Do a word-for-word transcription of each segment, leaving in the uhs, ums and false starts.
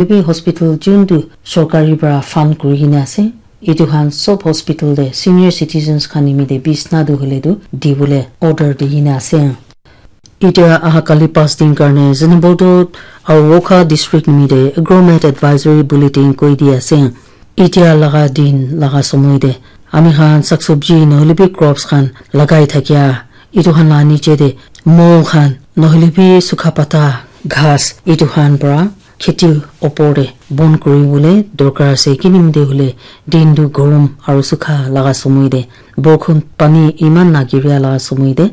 Etu bi hospital juntu sorkari para fund kuri kena ase, etu khan sob hospital te senior citizens khan nimite bisna tu hoile tu dibole order di kena ase. Etia aha kali pas din karne Zunheboto aru Wokha district nimite Agromet Advisory Bulletin koi di ase. Etia laga din laga somoi te ami khan sak sabji nohoile bi crops khan lagai thakia, etu khan la niche te mol khan nohoile bi sukha pata ghas etu khan para kheti opor te bon kuri bole dorkar ase. Kinimite hoile din tu gorom aru sukha laga somoi te borkhon pani eman na giria laga somoi te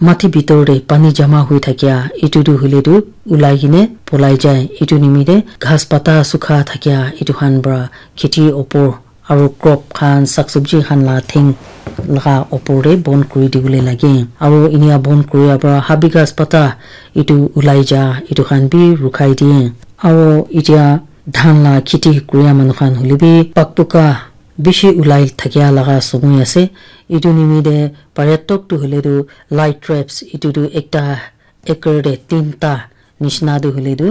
mati bitor te pani jama hui thakia etu tu hoile tu ulai kene polai jai. Etu nimite ghas pata sukha thakia etu khan para kheti opor aru crop khan sak sabji khan la theng laga opor te bon kuri dibole lage. Aru inia bon kuria para habi ghas pata etu ulai ja etu khan bi rukhai diye. Aru etia dhan la kheti kuria manu khan hoile bi pakpuka bishi ulai thakia laga somoi ase. Etu nimite pare tok tu hoile tu light traps etu tu ekta acre te tinta nishina tu hoile tu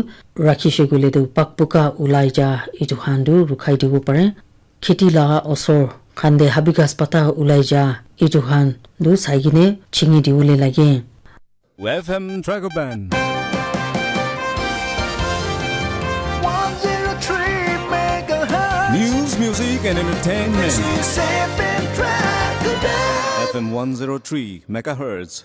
rakhishe koile tu pakpuka ulai ja etu khan tu rukhai dibo pare. Kheti laga osor khan te habi ghas pata ulai ja etu khan tu sai kene chingi dibole lage. F M Dragon Band. One zero three megahertz. News, music, and entertainment. This is F M Dragon Band. F M one zero three megahertz.